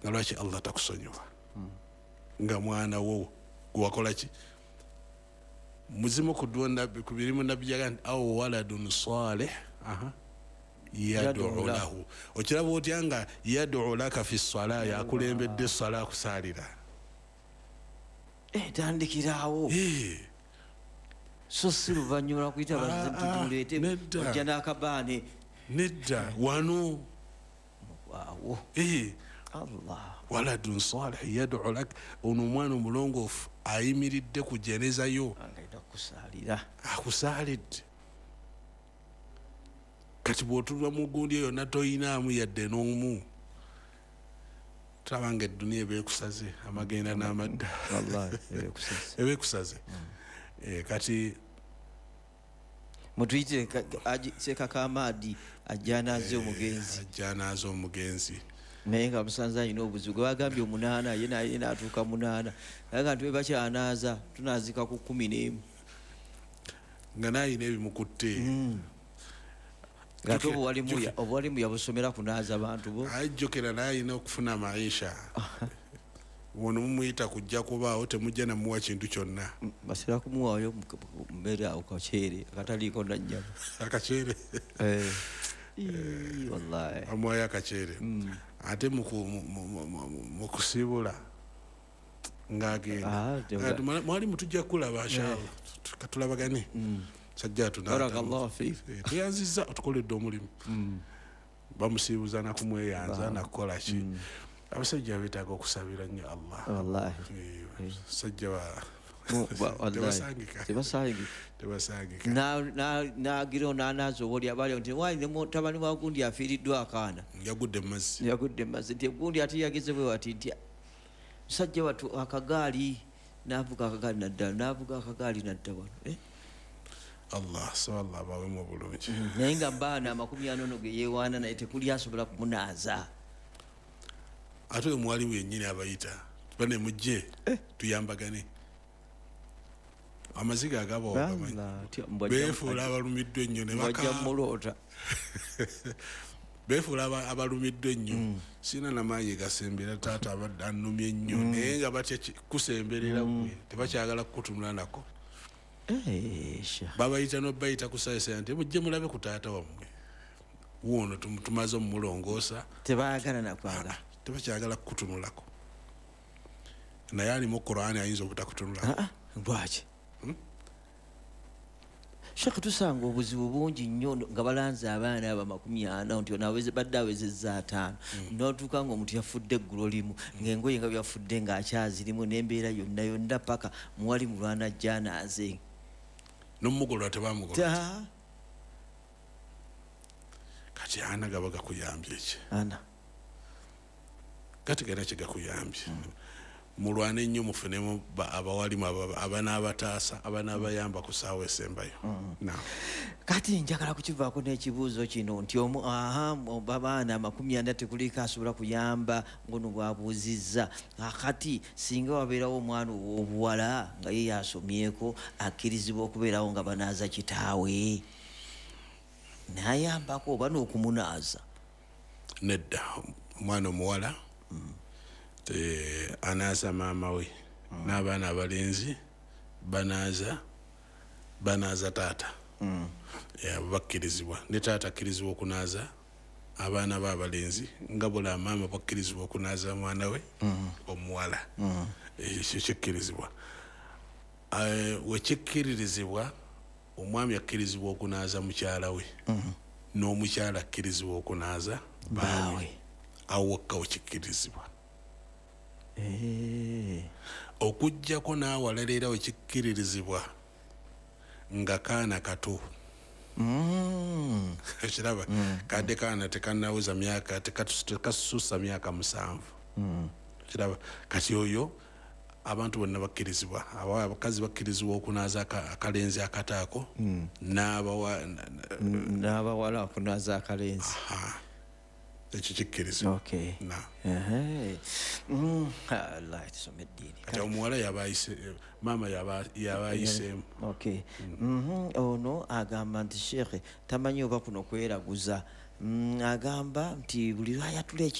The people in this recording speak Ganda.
Nga lwaki Allah takusonyiwa nga mwana wo gwewakola ki? Muzimu ku dduwa nabbi, ku birimu nabbi yaga nti au waladun salih aha yad'u lahu. Okiraba otya nga yad'u laka fi ssala, yakulembedde essala akusaalira? Tandikirawo. So si luvannyuma lwakuyita bazituleete Nedda. ojja n'akabaane. Nedda, wano. Waawo. Allah. Waladun salih yad'u lak, ono omwana omulongoofu ayimiridde ku jeneza yo. Agenda kukusaalira. Akusaalidde. Kati bw'otulwa mu gundi eyo yonna toyinaamu yadde n'omu, tulaba nga edduniya ebeekusaze amagenda n'amadda. Wallahi ebekusaze. Ebeekusaze. Kati mutuyitire Sekakamaadi ajja anaaze omugenzi. Ajja anaaze omugenzi. Naye nga musanze alina obuzibu gwe bagambye 8, ye naye n'atuuka 8, naye nga nti bakyanaaza tunaazika ku 11. Nga naye alina ebimukutte. Nga ate obuwalimu yabusomera kunaaza bantu bo. Ajjukira naye alina okufuna maisha. Ono mumuyita kujja kubaawo, temujja namuwa kintu kyonna. Basera kumuwaayo mmere awo kaceere akataliiko na nnyama. Akaceere. Ii, wallahi. Amuwaayo akaceere. Ate mu kusiibula ng'agenda. Mwalimu tujja kulaba inshallah. Katulabagane. Sajja Barakallahu fiik. Tuyanzizza otukoledde omulimu. Bamusiibuza na kumweyanza na kukola ki. Abasajja beetaaga okusabira nnyo Allah. Wallahi. Abasajja Wallahi. Tebasangika. Tebasangika. Tebasangika. N'agira n'anaaza obwoli abali nti wali ne mutabani wa gundi afiiriddwa akaana. Yagudde mu mazzi. Yagudde mu mazzi. Nti gundi ate yageze bwe wati nti musajja wattu akagaali n'avuga akagaali nadda, n'avuga akagaali nadda wano. Allah, so Allah abawemu obulungi. Naye nga mbaana 40 ono ge yeewaana naye tekuli asobola kumunaaza. Ate oyo mwalimu yennyini abayita bane mujje tuyambagane. Amaziga agabo Bala, ogamanyi. tya, mbwajja Beefuula abalumiddwa ennyo ne mbwajja bakaaba. muloota. Beefuula abalumiddwa ennyo. Sirina na maanyi gasembera, taata abadde annumye nnyo. Naye nga batya kusemberera gwe, tebakyagala kukutunula nako. Sha. Babayita n'obayita ku saayisa nti mujje mulabe ku taata wammwe. Wuuno tumaze omulongoosa. Tebaagala na kwagala. Tebakyagala kukutunulako. Naye alimu Qur'ani ayinza obutakutunulako. Lwaki? Sheikh, tusanga obuzibu bungi nnyo nga balanze abaana abo 40 nti ono badde awezezza 5. N'otuuka ng'omuntu yafudde eggulo limu, ng'engoye nga byafudde ng'akyazirimu n'embeera yonna yonna paka muwali mulwana ajja anaaze. N'omugolola tebamugolola. Ta. Kati ana gaba gakuyambye ki? Ana. Kati gana kye gakuyambye. Mulwane nnyo mufunemu abawalimu abanaabataasa, abanaabayamba ku ssaawa esembayo. Kati njagala kukivaako n'ekibuuzo kino nti omu, aha, abaana 40 tekuliko asobola kuyamba ng'ono bw'abuuzizza. Kakati singa wabeerawo omwana ow'obuwala nga ye yasomyeko, akkirizibwa okubeerawo nga banaaza kitaawe n'ayambako oba n'okumunaaza? Nedda, omwana omuwala anaaza maama we, n'abaana abalenzi banaaza taata. Abo bakkirizibwa. Ne taata akkirizibwa okunaaza abaana be abalenzi nga bula maama bakkirizibwa okunaaza mwana we omuwala. Ekyo kikkirizibwa. We kikkiririzibwa, omwami akkirizibwa okunaaza mukyala we. N'omukyala akkirizibwa okunaaza bbaawe. Bbaawe. Awo wokka we kikkirizibwa. Okuggyako n'awalala era we kikkiririzibwa nga kaana kato. Ekiraba, kadde kaana tekannaweza myaka, tekasussa myaka 7. Ekiraba, kati oyo abantu bonna bakkirizibwa. Abakazi bakkirizibwa okunaaza akalenzi akataako, N'abawala okunaaza akalenzi. Aha. Ekyo kikkirizibwa. Allah, tusome eddiini. Kati omuwala yaba ayise, maama yaba ayiseemu. Ono agamba nti Sheikh tamanyi oba kuno kweraguza. Agamba nti buli lwayatula